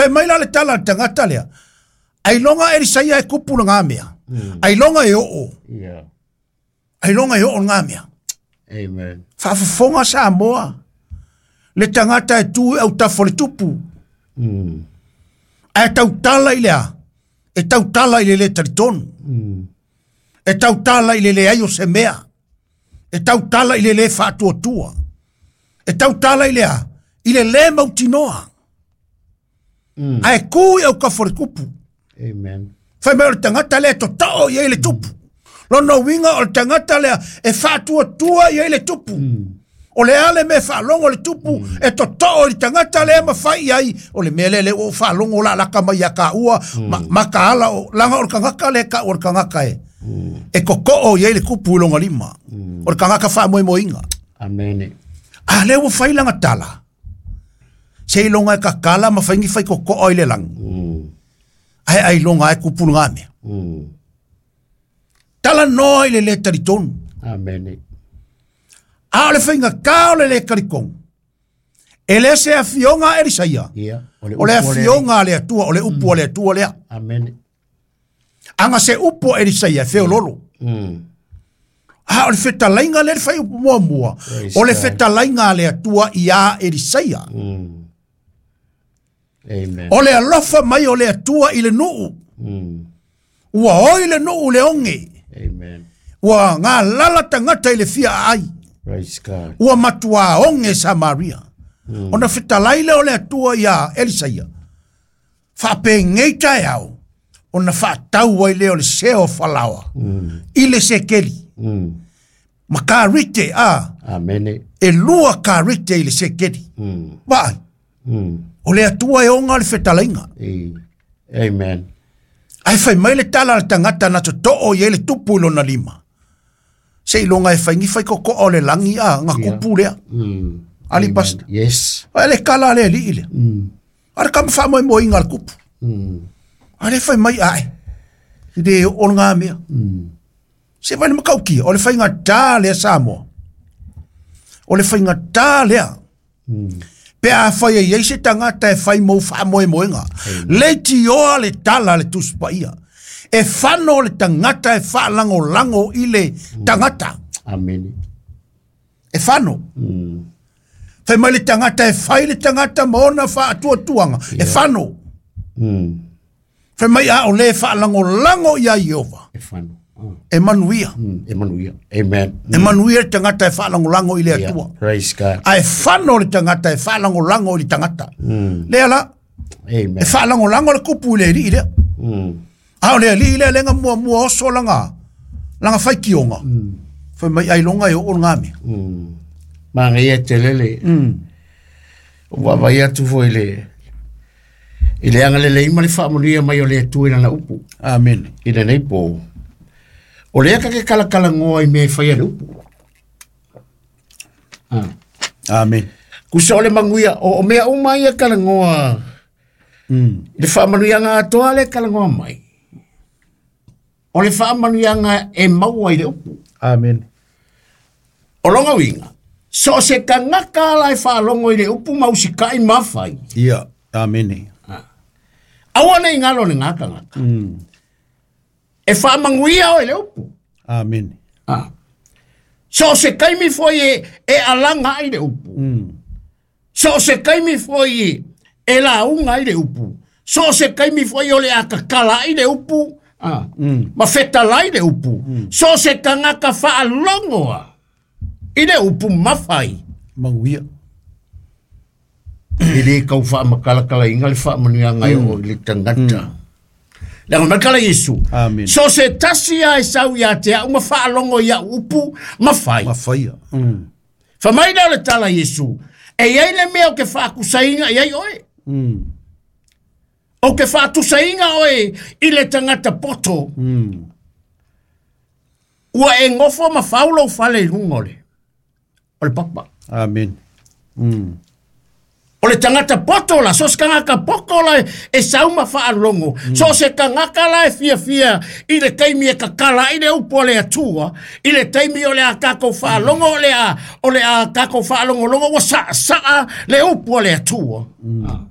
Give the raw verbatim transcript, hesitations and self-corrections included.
Fai mai la le tala le tagata lea. Ailoga Elisaia e kupu le mea. Ailoga e oo. Yeah. Ailoga e oo le mea. Amen. Faafofoga Samoa. Le tagata e tu au tafo le tupu. Mm. Ae tautala i lea. E tautala i le le talitonu. Mm. E tautala i le leai o se mea. E tautala i le le faatuatua. E tautala i lea. I le le mautinoa. Mm. Ae ku i au kafo le kupu. Amen. Fai mai o le tagata lea totoo i ai le tupu. Lona uiga o le tagata lea e faatuatua i ai le tupu. Mm. O le ale me faalogo le tupu mm. e totoo i le tagata lea ma fai ai. O le mea lea le o faalogo la laka mai ia ka ua mm. ma, ma ka ala o langa o le kangaka le ka o le kangaka e. Mm. E kokoo i ai le kupu i longa lima. Mm. O le kangaka faamoemoeinga. Amen. A lea ua fai langa tala. Se i longa e kakala ma fai ni fai kokoo i le langi. Mm. Ae ai longa e kupu ngā mea. Mm. Tala noa i le le talitonu. Amen. A o le whainga kā o le le kalikong. E le se afionga a Elisaia. Yeah. O le afionga a le atua, o le upu a le atua lea. Amen. Anga se upu a Elisaia, e feololo. Mm. A o le whetalainga le whai upu mua mua. Praise O le God. whetalainga a le atua i a Elisaia. Mm. Amen. O le alofa mai o le atua i le nuu. Mm. Ua oi le nuu le onge. Amen. Ua ngā lala tangata i le fia ai. Praise God. Ua matua onge Samaria. Mm. Ona fetalai le o le atua ia Elisaia. Whaapengeita e au. Ona whaatau ai le o le seo falawa. Mm. I le sekeli. Mm. Ma ka rite a. Amen. E lua ka rite i le sekeli. Mm. Vaai. Mm. O le atua e onga le fetalainga. E. Amen. Ai fai mai le tala le tangata na totoo i le tupu i lona lima. Se i longa e fai ni fai koko o le langi a ngā Yeah. kupu lea. Mm. Ali Amen. pastor. Yes. Ai le kala le li ile. Mm. Are kama wha moi moi ngā le kupu. Mm. Are fai mai ae. I le o ngā mea. Mm. Se vai le makaukia. O le fai ngā tā lea Samoa. O le fai ngā tā lea. Mm. Pe a whai e iei se tangata e whai mou wha moe moenga. Le tioa le tala le tuspaia. E whano le tangata e wha lango lango i le tangata. Amen. E whano. Mm. Whai mai le tangata e whai le tangata ma ona wha atua tuanga. E whano. Mm. Whai mai a o le wha lango lango ia Iova. E whano. Oh. E manuia. Mm. E manuia. Amen. E manuia le tangata e wha lango lango i le Yeah. atua. Praise God. A e whano le tangata e wha lango lango i le tangata. Mm. Lea la, Amen. e wha lango lango le kupu i le ri lea. Mm. A o le ali le lenga mua mua oso langa. Langa whai kionga. Mm. Whai mai ai longa e o ngā mea. Mm. Manga ia te lele. Mm. Ua vai atu foi le i le anga lele ima le whaamanuia mai o le atua i lana upu. Amen. I lenei po. O lea ka ke kalakala ngoa i mea e whai a le upu. Ah. Amen. Kusa o le manguia, o, o mea uma ia kala ngoa, Mm. i le whaamanuianga atoa le kala ngoa mai. O le whaamanuianga e maua i le upu. Amen. O longa winga, so se kangaka ala e whaalongo i le upu mausikai mawhai. Ia. Amen. Aua nei ngalo le ngā kangaka. Mm. E whaamanguia o i le upu. Amen. Ah. So se kaimi foi e, e alanga ai le upu. Mm. So se kaimi foi e la unga ai le upu. So se kaimi foi o le akakala ai le upu. Ah. Mm. Ma fetalai le upu. So se kangaka whaalongoa i le upu mawhai. Manguia. I le kau whaamakalakala inga le whaamanuia ngai o le tangata. Langa makala Yesu. Amen. So se tasi a e sau ia te au ma whaalongo ia upu mawhai. Mawhaia. Mm. Whamaina o le tala Yesu. E iai le mea o ke whaakusainga iai oe. Mm. O ke whaatusainga oe i le tangata poto. Mm. Ua e ngofo ma whaulo whale i runga o le. O le papa. Amen. Mm. O le tangata poto la, so se kangaka poko la e sauma whaalongo. Mm. So se kangaka la e fia fia i le taimi e kakala i le upo le atua, i le taimi o le a kako whaalongo o le a, o le a kako whaalongo longo, wa sa, saa le upo le atua. Mm.